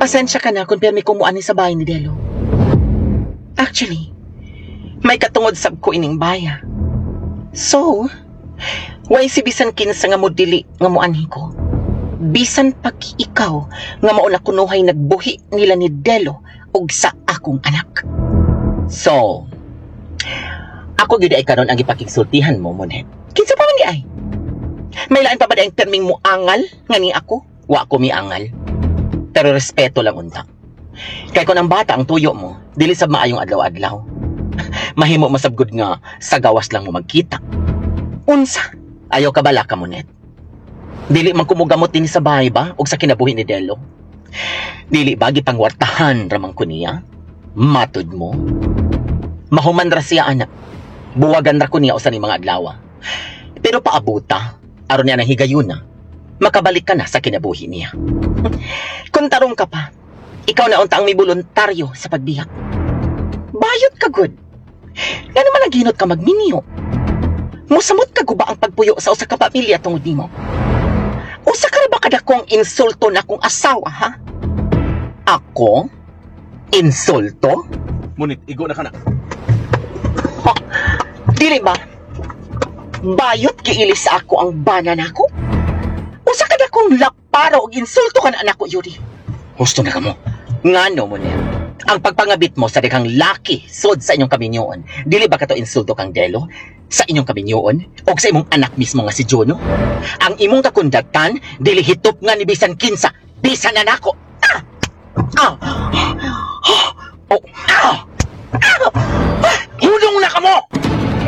Pasensya ka na kung permi ko muani sa bahay ni Delo. Actually, may katungod sab ko ining baya. So, way si bisan kinsa nga modili nga muanhi ko. Bisan pag ikaw nga mao na kunuhay nagbuhi nila ni Delo ug sa akong anak. So, ako gyud ay karon ang gipakigsultihan mo, Monet. Kinsa pa man di ay? May lain pa ba di ang perming muangal nga ni ako? Wa ko miangal. Pero respeto lang unta. Kay kung ang bata ang tuyo mo, dili sab maayong adlaw-adlaw. Mahimo masabgod nga sa gawas lang mo magkita. Unsa? Ayaw ka bala ka, Monet. Dili man kumugamot dinhi sa bahay ba og sa kinabuhi ni Delo? Dili ba gipangwartahan ramang ko niya? Matud mo? Mahuman ra siya, anak. Buwagan ra ko niya usa ni mga adlaw. Pero paabuta, aron niya nang higayuna, makabalik ka na sa kinabuhi niya. Kung tarong ka pa, ikaw na unta ang may voluntaryo sa pagbiyak. Bayot ka gud. Nga naman naghinot ka magminyo. Musamot ka guba ang pagpuyo sa usa ka pamilya tungod nimo. Usa ka ra ba kadakong insulto na akong asawa, ha? Ako? Insulto? Munit, igo na ka na. Dili ba? Bayot giilis sa ako ang bana nako. Usa ka dakong laparo og insulto ka na anak ko, Yuri. Husto na kamo. Ngano mo niya? Ang pagpangabit mo sa daghang laki sod sa inyong kaminyoon, dili ba kato insulto kang Delo? Sa inyong kaminyoon o sa imong anak mismo nga si Juno? Ang imong kakundatan, dili hitop nga ni bisan kinsa, bisan na nako. Ah! Ah! Ah! Oh! Ah! Hulong na kamo!